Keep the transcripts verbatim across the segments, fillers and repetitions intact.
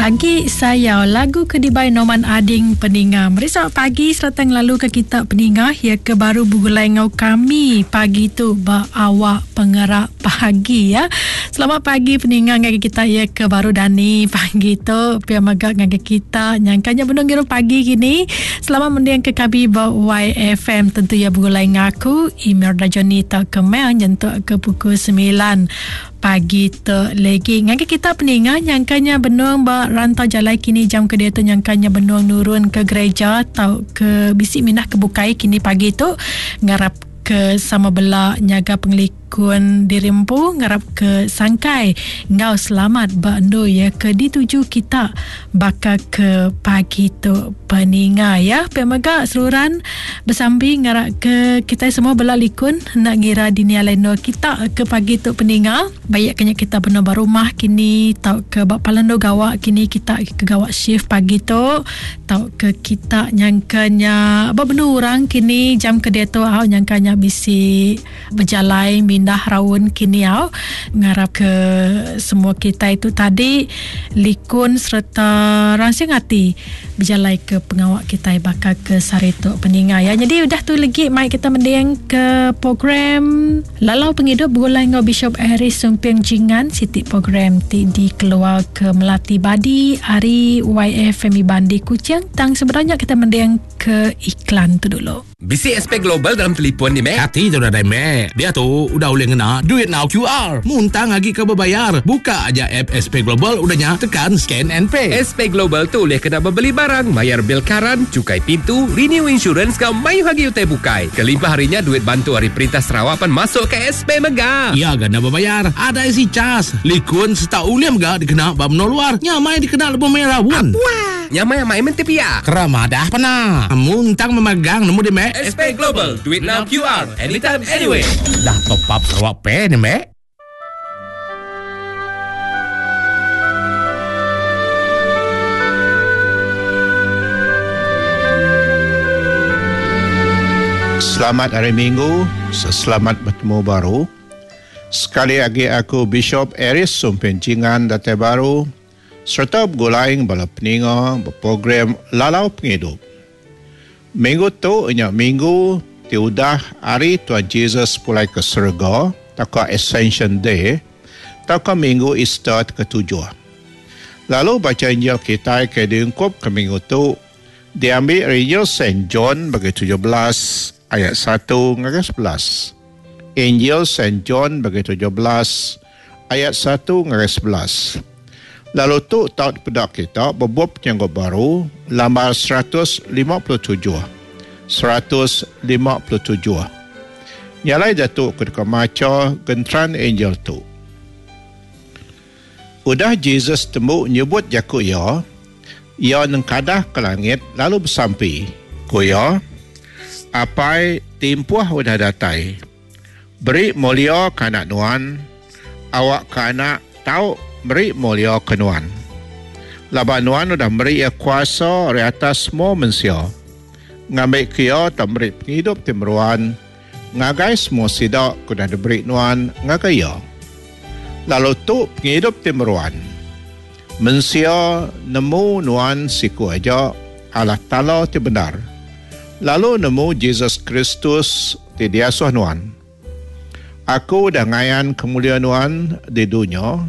Agi sayau lagu ke dibai Norman Ading peninga. Meri selamat pagi serta ngelalu ke kita peninga ya ke baru begulai ngau kami pagi tu ba awak pengerak pagi ya. Selamat pagi peninga ngagai kita ya ke baru dani pagi tu pia mega ngagai kita nyangkanya benung ngiru pagi kini. Selamat mending ke kami ba Y F M tentu ya begulai ngaku Emir Dajoni tak kemel nyentuk ke pukul sembilan pagi tu lagi. Ngagai kita peninga nyangkanya benung ba rantau jalai kini jam ke dia tu nyangkanya benung nurun ke gereja atau ke bisi minah ke bukai kini pagi tu ngarap ke sama bela nyaga pengelikun diri empu ngarap ke sangkai ngau selamat ba endur ya ke dituju kita baka ke pagi tu peninga ya. Pia mega seluran bersambi ngarap ke kita semua bela likun nak ngira dini alai nur kita ke pagi tu peninga. Baik kena kita benar ba rumah kini tau ke ba palando gawak kini kita ke gawak shift pagi tu tau ke kita nyangkanya ba benu orang kini jam ke dia tu au nyangkanya bisi berjalai mindah raun kini au ngarap ke semua kita itu tadi likun serta rangsing hati berjalai ke pengawak kita bakal ke saritu peninga ya. Jadi udah tu lagi mai kita mending ke program Lalau Penghidup begulai ngau Bishop Harris Sumping Jingan siti program ti dikeluar ke Melati Badi hari Y F M Bandi Kuching. Tang sebenarnya kita mending ke iklan tu dulu. B C S P Global dalam telefon ni, Mek. Hati tu dah dah, Mek. Dia tu udah boleh ngena duit now Q R. Muntang lagi ke berbayar. Buka aja app S P Global, udahnya tekan scan and pay. S P Global tu boleh kena berbeli barang, bayar bil karan, cukai pintu, renew insurance kau mayu hagi utai bukai. Kelimpah harinya duit bantu hari perintah Sarawak pan masuk ke S P Mega. Ya gana berbayar. Ada isi cas. Likun serta uliam ga dikena bab menol luar. Nyamai dikena lebih merah pun. Apa? Nyamai amai menti pia. Keramadah pernah. Muntang memegang nemu di Mek. S P Global, duit now Q R, anytime, anywhere. Dah top up Sarawak Pay ni, Mek. Selamat hari Minggu, selamat bertemu baru. Sekali lagi aku Bishop Aris Sumpin Jingan datai baru serta bergulaing bala peninga berprogram Lalau Penghidup. Minggu tu inya minggu ti udah hari Tuhan Jesus pulai ke surga, taka Ascension Day, taka minggu Easter ketujuh. Lalu baca Injil kita ke diungkup ke minggu tu diambil Injil Saint John bagi tujuh belas ayat satu hingga sebelas. Injil Saint John bagi tujuh belas ayat satu hingga sebelas. Lalu tu taut pedak kita bebup penyanggup baru lambar seratus lima puluh tujuh. seratus lima puluh tujuh. Nyalai jatuh ke dekat maca gentran angel tu. Udah Jesus temu nyebut jaku ia, ia nengkadah ke langit lalu bersampi. Ku ia, apai timpuh udah datai. Beri mulia ke anak nuan, awak ke anak tau beri mulia ke nuan. Laban nuan udah beri ia kuasa dari atas semua manusia. Ngambil kia tak beri penghidup timeruan, ngagai semua sidak kudah diberi nuan ngagai ia. Lalu tu penghidup timeruan. Mensia nemu nuan siku aja Allah Ta'ala ti benar. Lalu nemu Jesus Kristus ti diasuh nuan. Aku dah ngayan kemuliaan nuan di dunia.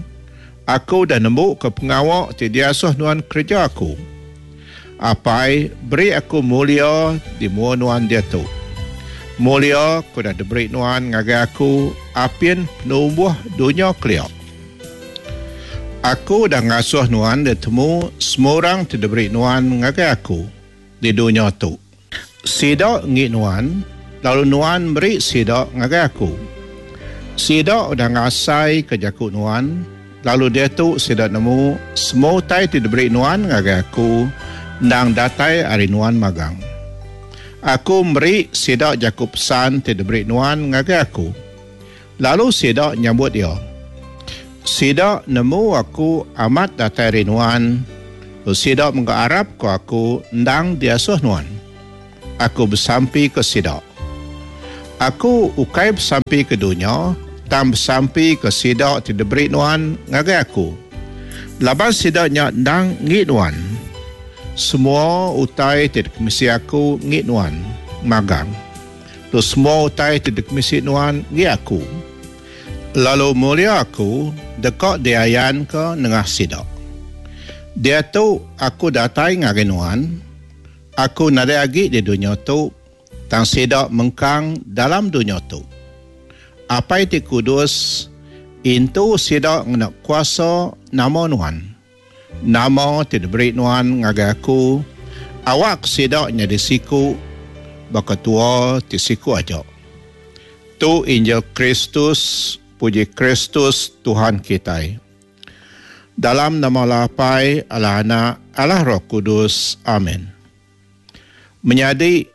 Aku dah nemu ke pengawak ti diasuh nuan kerja aku. Apai, beri aku mulia di mua nuan dia tu. Mulia ku dah diberi nuan ngagai aku apin penumbuh dunia keliak. Aku dah ngasuh nuan dia temu semua orang ti diberi nuan ngagai aku di dunia tu. Sidak ngi nuan, lalu nuan beri sidak ngagai aku. Sidak udah ngasai ke jaku nuan, lalu dia tu sidak nemu semua utai ti diberi nuan ngagai aku ndang datai ari nuan magang. Aku meri sidak jaku pesan ti diberi nuan ngagai aku. Lalu sidak nyambut dia. Sidak nemu aku amat datai ari nuan, lalu sidak mengharap ke aku ndang diasuh nuan. Aku bersampi ke sidak. Aku ukai bersampi ke dunia, tang bersampi ke sidak ti diberi nuan ngagai aku. Laban sidaknya ndang ngi nuan. Semua utai ti dikemisi aku ngi nuan magang. Tu semua utai ti dikemisi nuan ngi aku. Lalu mulia aku deka diayan ke nengah sidak. Dia tu aku datai ngagai nuan. Aku nadai agi di dunia tu, tang sidak mengkang dalam dunia tu. Apai ti kudus, intu sidak ngena kuasa nama nuan. Nama ti diberi nuan ngagai aku, awak sidak nyadi siku, baka tua ti siku aja. Tu Injil Kristus, puji Kristus Tuhan kita. Dalam nama Allah Apai, Allah Anak, Allah Roh Kudus. Amin. Menyadi,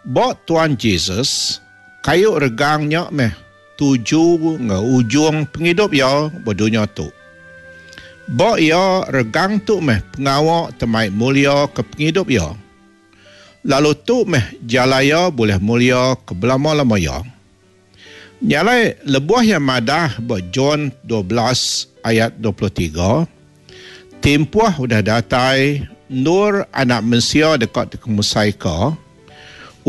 bok Tuhan Jesus, kayu regangnya meh tuju nge ujung penghidup ya berdunia tu. Bok ya regang tu meh pengawak temai mulia ke penghidup ya. Lalu tu meh jalaya boleh mulia ke belama-lama ya. Nyalai lebuh yang madah buat John dua belas ayat dua puluh tiga, timpuh udah datai nur anak mensia dekat dikemusaika.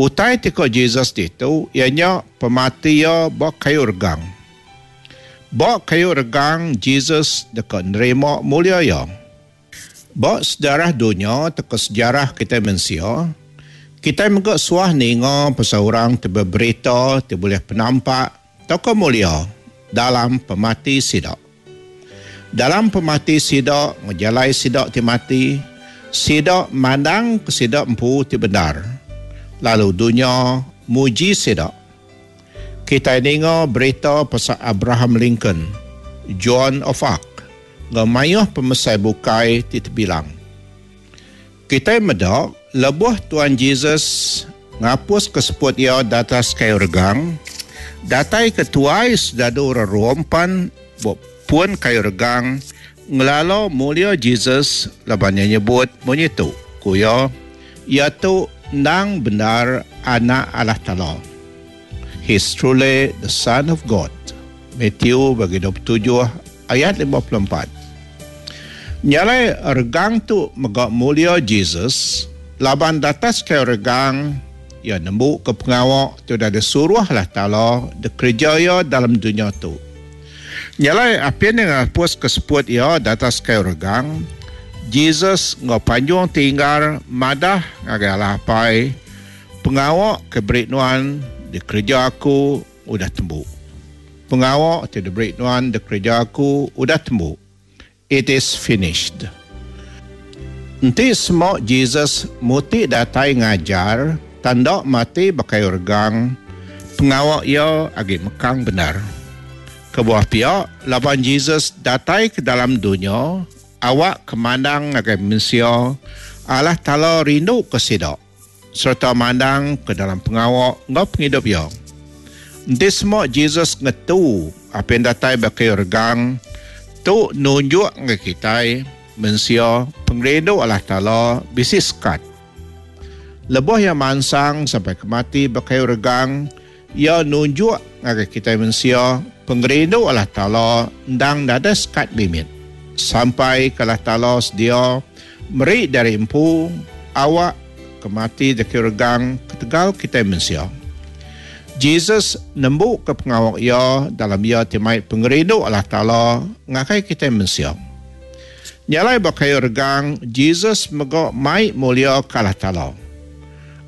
Utai tiko Jesus itu ianya pemati ya bok kayu regang. Bok kayu regang Jesus dekat nerima mulia ya. Bok sejarah dunia teko sejarah kita mensia, kita megak suah ninga pasal orang te berita te boleh penampak toko mulia dalam pemati sidak. Dalam pemati sidak ngejalai sidak ti mati, sidak mandang ke sidak empu ti benar. Lalu dunia muji sidak. Kita ninga berita pasal Abraham Lincoln, Joan of Arc, ngemayuh pemesai bukai ti terbilang. Kita medak lebuh Tuhan Jesus ngapus keseput ia datas kayu regang, datai ketuai sedadu rerompan pun kayu regang ngelalo mulia Jesus laban nya nyebut munyi tu kuya ia tu nang benar anak Allah Taala. He is truly the Son of God. Matthew bagi dua puluh tujuh ayat lima puluh empat. Nyalai regang tu megak mulia Jesus laban datas kayu regang ia nembuk ke pengawak tu dah disuruh Allah Taala dikerja ia dalam dunia tu. Nyalai apin yang hapus keseput ia datas kayu regang, Jesus ngau panjung tinggal madah ngagai Allah Apai, pengawak ke beri nuan dikerja aku udah tembuk. Pengawak ti diberi nuan dikerja aku udah tembuk. It is finished. Enti semua Jesus muti datai ngajar, tanda mati bakai regang, pengawak ia agi mekang benar. Kebuah pihak, laban Jesus datai ke dalam dunia, awak kemandang ngagai manusia, Allah Taala rindu ke sidak, serta mandang ke dalam pengawak ngau penghidup ia. Enti semua Jesus ngetu apa yang datai bakai regang, tu nunjuk ngagai kita manusia pengerindu Allah Taala bisi sekat. Lebuh yang mansang sampai ke mati bakai regang, ia nunjuk ngagai kita manusia pengerindu Allah Taala ndang nada sekat limit. Sampai ke Allah Taala sedia meri dari empu awak ke mati dekat regang ketegal kita manusia. Jesus nembuk ke pengawak ia dalam ia timai pengerindu Allah Taala ngakai kita manusia. Nyalai bakai regang Jesus megok mai mulia ke Allah Taala.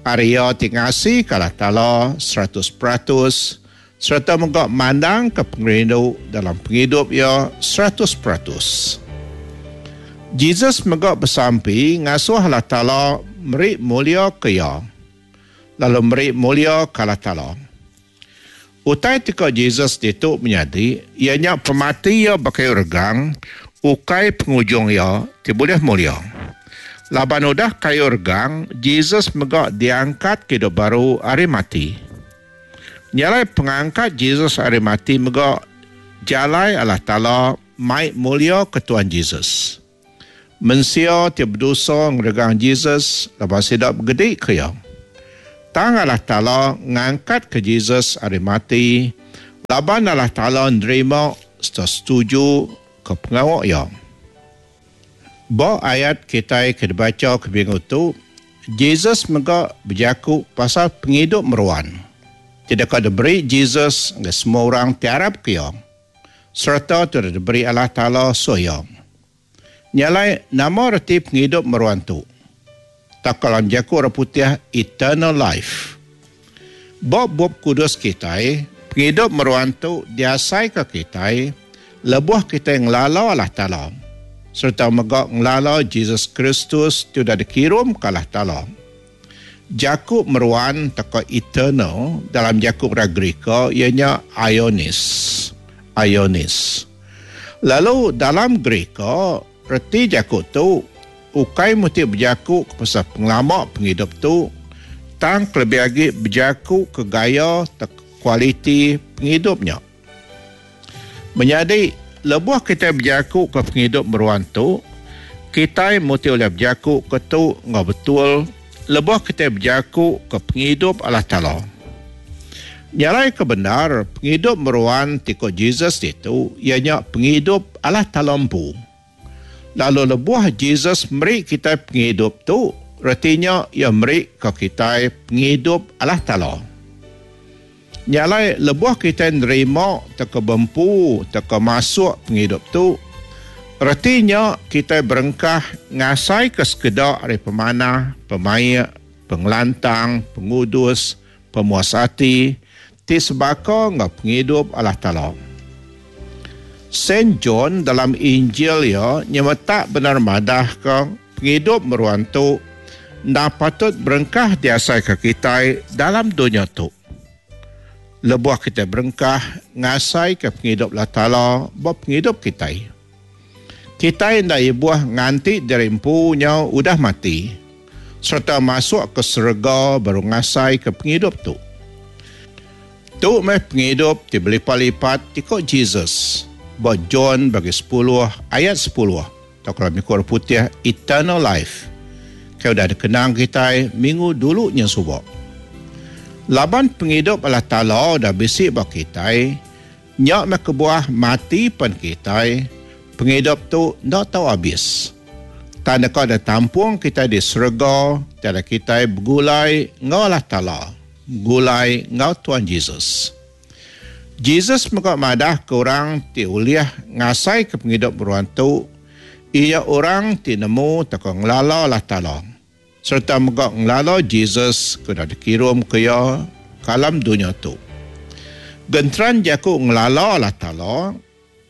Arya ti ngasi ke Allah Taala seratus peratus serta megok mandang ke pengerindu dalam penghidup ia seratus peratus. Jesus megok bersampi ngasuh Allah Taala meri mulia ke ia. Lalu meri mulia ke Allah Taala. Utai tika Jesus ditu menyadi, ianya pemati ia bakai regang, ukai pengujung ia ti boleh mulia. Laban udah kayu regang, Jesus megak diangkat ke hidup baru hari mati. Nyalai pengangkat Jesus hari mati megak jalai Allah Taala mai mulia ke Tuhan Jesus. Mensia ti berdosa ngeregang Jesus laban sidak bergedik ke ia. Tang Allah Taala ngangkat ke Jesus hari mati, laban Allah Taala nerima serta setuju ke pengawak ia. Ba ayat kita ke dibaca ke minggu tu, Jesus mega berjaku pasal penghidup meruan. Tidak diberi Jesus ke semua orang tiarap ke ia. Serta tu diberi Allah Ta'ala soya. Nyalai nama reti penghidup meruan tu. Tak kalam jaku orang putih eternal life. Bab-bab kudus kita, penghidup meruan tu diasai ke kita, lebuh kita ngelala Allah Ta'ala. Serta mega ngelala Jesus Kristus tu dah dikirim ke Allah Ta'ala. Jakub meruan teka eternal dalam Jakub orang Greka ianya Ionis. Ionis. Lalu dalam Greka reti Jakub tu ukai mesti berjakuk ke pasal pengelama penghidup tu tang lebih lagi berjakuk ke gaya te kualiti penghidupnya. Menjadi lebuh kita berjakuk ke penghidup meruan tu kita mesti oleh berjakuk ke tu ngau betul lebuh kita berjakuk ke penghidup Allah Ta'ala. Nyalai kebenar penghidup meruan tiko Jesus itu ianya penghidup Allah Ta'ala empu. Lalu lebuh Jesus meri kita penghidup tu retinya ia meri ke kita penghidup Allah Ta'ala. Nyalai lebuh kita nerima teka bempu teka masuk penghidup tu retinya kita berengkah ngasai ke sekedak dari pemanah, pemaik, pengelantang, pengudus, pemuas hati, ti sebaka ngau penghidup Allah Ta'ala. Saint John dalam Injil ya nyemetak benar madah ke penghidup meruan tu nda patut berengkah diasai ke kita dalam dunia tu. Lebuh kita berengkah ngasai ke penghidup Allah Ta'ala buat penghidup kita. Kita ndak ibuah nganti dari empunya udah mati serta masuk ke serga baru ngasai ke penghidup tu. Tu meh penghidup ti berlipat-lipat tikok Jesus. Buat John bagi sepuluh ayat sepuluh. Atau kalau mikir putih eternal life. Kau dah dikenang kita minggu dulunya subak. Laban penghidup Allah Ta'ala dah bisik bak kita, nyak meh kebuah mati pan kita, penghidup tu ndak tahu habis. Tanda kau dah tampung kita di serga, tiada kita bergulai ngau Allah Ta'ala, bergulai ngau Tuhan Jesus. Jesus mega madah ke orang ti uliah ngasai ke penghidup meruan tu, ia orang ti nemu teka ngelala Allah Ta'ala. Serta mega ngelala Jesus ke dah dikirim ke ia kalam dunia tu. Genteran jaku ngelala Allah Ta'ala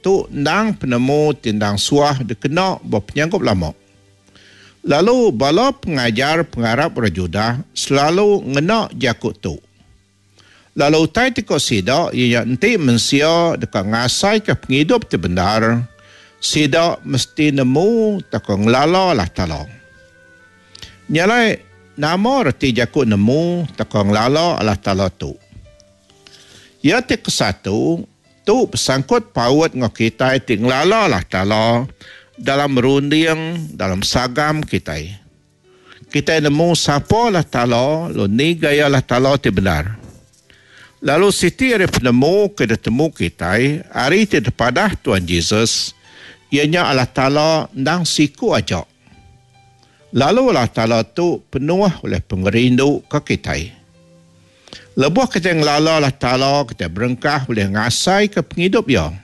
tu ndang penemu tindang suah dikena berpenyanggup lama. Lalu bala pengajar pengarap orang Judah selalu ngena jakuk tu. Lalu utai tiko sida ia enti mensia dekat ngasai ke penghidup ti benar, sida mesti nemu teko ngelala Allah Ta'ala. Nyalai nama reti jakuk nemu teko ngelala Allah Ta'ala tu. Ia ti kesatu tu bersangkut paut ngau kita ti ngelala Allah Ta'ala dalam runding, dalam sagam kita. Kita nemu siapa Allah Ta'ala, lalu ni gaya Allah Ta'ala ti benar. Lalu siti hari penemu ke ditemu kita, hari ti terpadah Tuhan Jesus, ianya Allah Ta'ala ndang siku aja. Lalu Allah Ta'ala tu penuh oleh pengerindu ke kita. Lebuh kita ngelala Allah Ta'ala, kita berengkah boleh ngasai ke penghidup ia.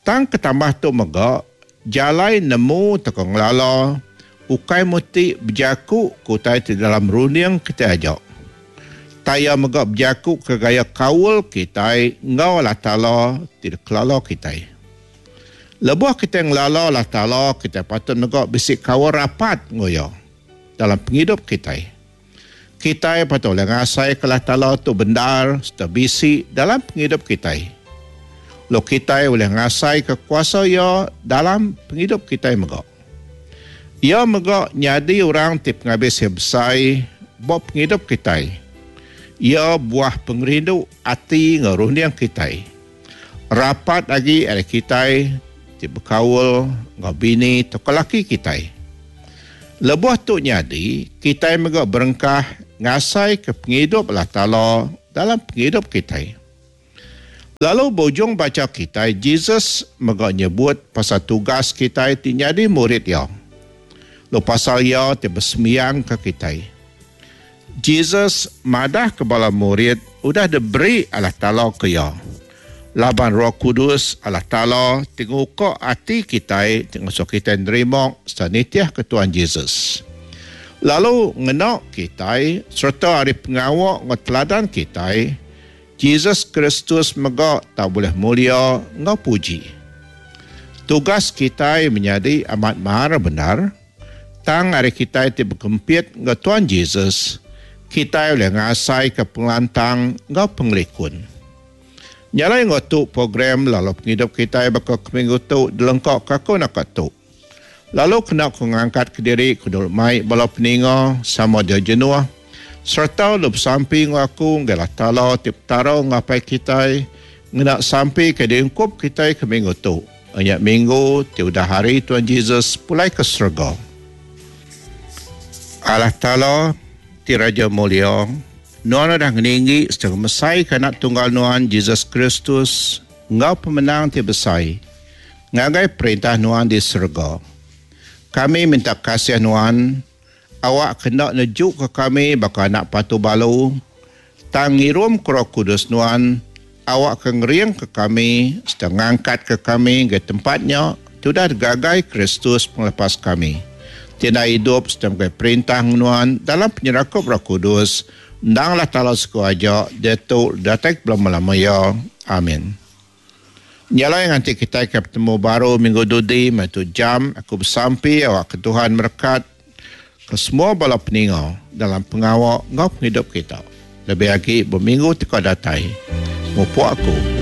Tang ketambah tu megak, jalai nemu teko ngelala, ukai muti berjaku kutai di dalam runding kita ajak. Taya megak berjaku ke gaya kaul kita ngau Allah Ta'ala tidak kelala kita. Lebuh kita ngelala Allah Ta'ala, kita patut megak bisik kaul rapat ngoyo dalam penghidup kita. Kita patut boleh ngasai ke Allah Ta'ala tu benar serta bisik dalam penghidup kita. Lo kita boleh ngasai ke kuasa ia dalam penghidup kita megak. Ia megak nyadi orang ti penghabis yang besar buat penghidup kita. Ia buah pengerindu ati ngerunding kita. Rapat lagi ada kita ti berkaul ngau bini atau laki kita. Lebuh tu nyadi, kita megak berengkah ngasai ke penghidup Allah Ta'ala dalam penghidup kita. Lalu bujung baca kita, Jesus mega nyebut pasal tugas kita ti nyadi murid ya. Lalu pasal ya ti besembiang ke kita. Jesus madah ke bala murid udah diberi Allah Taala ke ya. Laban Roh Kudus Allah Taala ti nguka ati kita ti ngasuh kita nerima serta nitih ke Tuhan Jesus. Lalu ngena kita serta hari pengawak ngau teladan kita, Jesus Kristus mega tak boleh mulia ngau puji. Tugas kita menjadi amat marah benar. Tang hari kita ti berkempit ngau Tuhan Jesus, kita boleh ngasai ke pengelantang ngau pengelikun. Nyalai ngau tu program lalu penghidup kita bakal ke minggu tu dilengkap kaku nak tu. Lalu kena ku ngangkat ke diri ku dulu mai bala peninga sama dia jenuh serta lu bersampi ngau aku ngalah Taala ti Petara ngapai kita ngena sampi ke diungkup kita ke minggu tu. Banyak minggu ti udah hari Tuhan Jesus pulai ke surga. Allah Taala ti Raja Mulia, Nuan dah ngeninggi setengah mesai ke anak tunggal Nuan Jesus Kristus ngau pemenang ti besai ngagai perintah Nuan di surga. Kami minta kasih Nuan, awak kena nejuk ke kami baka anak patu balu, tang ngirum ke Roh Kudus Nuan, awak ke ngering ke kami, sedang ngangkat ke kami ke tempatnya, sudah gagai Kristus penglepas kami. Tiada hidup sedang ke perintah Nuan dalam penyerakup Roh Kudus, ndanglah Taala suku aja, datuk datek belum lama ya. Amin. Nyala yang nanti kita akan bertemu baru minggu dudi, matu jam, aku bersampi awak ke Tuhan merekat ke semua bala peninga dalam pengawak ngau penghidup kita. Lebih lagi berminggu teka datai. Mupuk aku.